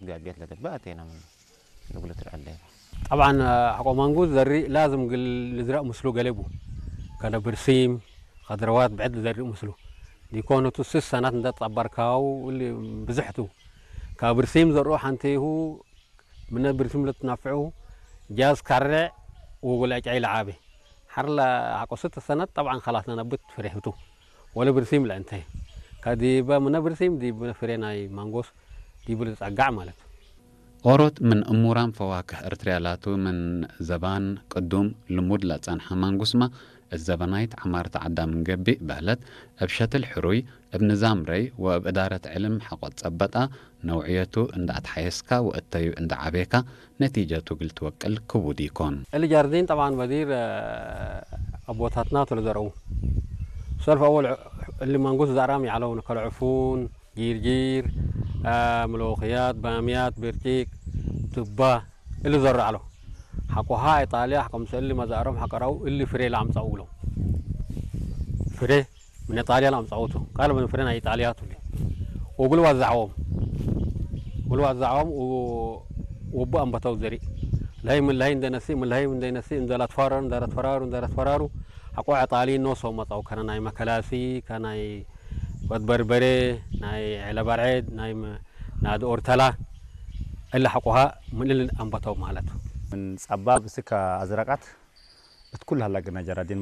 ጋቢያት ለገባ አቴና ምን ንጉለት ረአለ። ጠብዓን፣ ሐቆ ማንጉ ዘሪ ላዝም ግል ልዝራእ ምስሉ ገሌቡ። ከነ ብርሲም፣ ኸድረዋት ብዕድ ልዘሪ ምስሉ። ዲኮነቱ ስስ ሰናት እንደ ጸባርካው እሊ ብዙሕቱ። ካብ ብርሲም ዘርኡ ሓንቴሁ፣ ምነ ብርሲም ለትናፍዑ፣ ጃዝ ካረዕ ወጎል ዕጫይ ለዓቤ። ሓርላ ሐቆ ስት ሰናት ጠብዓን ኸላስ ነነብት ፍሬህቱ። ወለ ብርሲም ለእንተ። ከዲበ ምነ ብርሲም ዲብ ፍሬ ናይ ማንጎስ ዲብ ልጸጋዕ ማለት። ኦሮት ምን እሙራም ፈዋክህ እርትርያ ላቱ ምን ዘባን ቅዱም ልሙድ ለጸንሐ ማንጉስማ፣ እት ዘበናይት ዐማርተ ዐዳ ምን ገብእ በህለት፣ እብ ሸትል ሕሩይ፣ እብ ንዛም ረይ ወእብ እዳረት ዕልም ሐቆ ትጸበጣ፣ ነውዕየቱ እንዳ አትሓየስካ ወእተዩ እንዳ ዐቤካ፣ ነቲጀቱ እግል ትወቅል ክቡድ ኢኮን። እሊ ጃርዲን ጠብዓን በዲር፣ እ፣ አቦታትና ቱ ለዘርኡ። ሰልፍ አወል ዕ-፣ እሊ ማንጉስ ዛዕራም ይዓለው፣ ከልዕፉን፣ ጊርጊር፣ እ፣ ምሎኽያት፣ ባምያት፣ ብርጭቅ፣ ዱባ፣ እሊ ዘርዓሎ። ሐቆሃ ኢጣልያ፣ ከምሰ እሊ መዛእሮም ሐቀራው እሊ ፍሬ ለአምጻኡ ብሎ። ፍሬ ምን ኢጣልያ ለአምጻኡቱ። ቃል ምን ፍሬ ናይ ኢጣልያ ቱሊ። ወጉል ዋዛዕዎም። ጉል ዋዛዕዎም ወ-፣ ወቡ አንበተው ዘሪ። ለሀይ ምን ለሀይ እንደ ነሲ፣ ምን ለሀይ እንደ ነሲ፣ እንደ ላትፈራሩ፣ እንደ ላትፈራሩ፣ እንደ ላትፈራሩ። ሐቆ ኢጣሊ ኖሶ መጻው ከነ ናይ መከላሲ፣ ከናይ ወድ በርበሬ፣ ናይ ዐለባርዔድ፣ ናይ መ-፣ ናድ ኦርተላ። እለ ሐቆሃ ምን እልን አንበተው ማለት። ምን ጸባብ እስከ አዝረቃት እት ኩል ሀላ ግና ጀራዲን